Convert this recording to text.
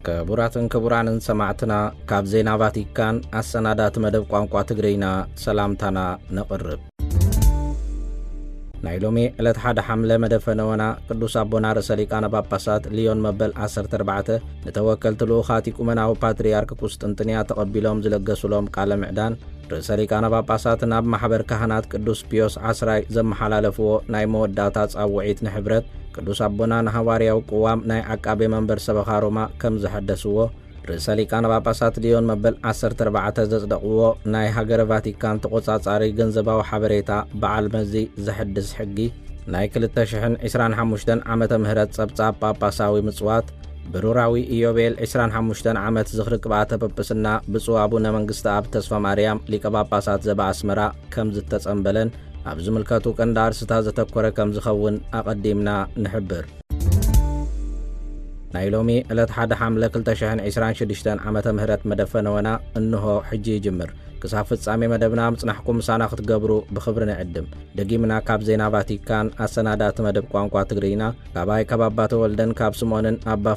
ክቡራትን ክቡራንን ሰማዕትና፣ ካብ ዜና ቫቲካን ኣሰናዳቲ መደብ ቋንቋ ትግርኛ ሰላምታና ነቕርብ። ናይ ሎሚ ዕለት ሓደ ሓምለ መደፈነወና ቅዱስ ኣቦና ርእሰ ሊቃነ ጳጳሳት ሊዮን መበል ዓሰርተ ኣርባዕተ ንተወከልቲ ልኡኻት ኢቁመናዊ ፓትርያርክ ቁስጥንጥንያ ተቐቢሎም ዝለገሱሎም ቃለ ምዕዳን፣ ርእሰ ሊቃነ ጳጳሳት ናብ ማሕበር ካህናት ቅዱስ ፒዮስ ዓስራይ ዘመሓላለፍዎ ናይ መወዳእታ ጻውዒት ንሕብረት፣ ቅዱስ ኣቦና ንሃዋርያዊ ቅዋም ናይ ዓቃቤ መንበር ሰበኻ ሮማ ከም ዘሐደስዎ፣ ርእሰ ሊቃነ ጳጳሳት ሊዮን መበል ዓሰርተ ኣርባዕተ ዘጽደቕዎ ናይ ሃገረ ቫቲካን ተቖጻጻሪ ገንዘባዊ ሓበሬታ በዓል መዚ ዘሐድስ ሕጊ፣ ናይ ክልተ ሽሕን ዕስራን ሓሙሽተን ዓመተ ምህረት ጸብጻብ ጳጳሳዊ ምጽዋት፣ ብሩራዊ ኢዮቤል ዕስራን ሓሙሽተን ዓመት ዝኽሪ ቅብኣተ ጵጵስና ብፁዕ ኣቡነ መንግስተ ኣብ ተስፋ ማርያም ሊቀ ጳጳሳት ዘበኣስመራ ከም ዝተጸንበለን ኣብ ዝምልከቱ ቀንዲ ኣርስታት ዘተኮረ ከም ዝኸውን ኣቐዲምና ንሕብር። ናይ ሎሚ ዕለት ሓደ ሓምለ ክልተ ሽሕን ዕስራን ሽዱሽተን ዓመተ ምህረት መደፈነወና እንሆ ሕጂ ይጅምር። ክሳብ ፍጻሜ መደብና ምጽናሕኩም ምሳና ክትገብሩ ብኽብሪ ንዕድም። ደጊምና ካብ ዜና ቫቲካን ኣሰናዳእቲ መደብ ቋንቋ ትግርኛ፣ ካባይ ካብ ኣባ ተወልደን ካብ ስምኦንን ኣባ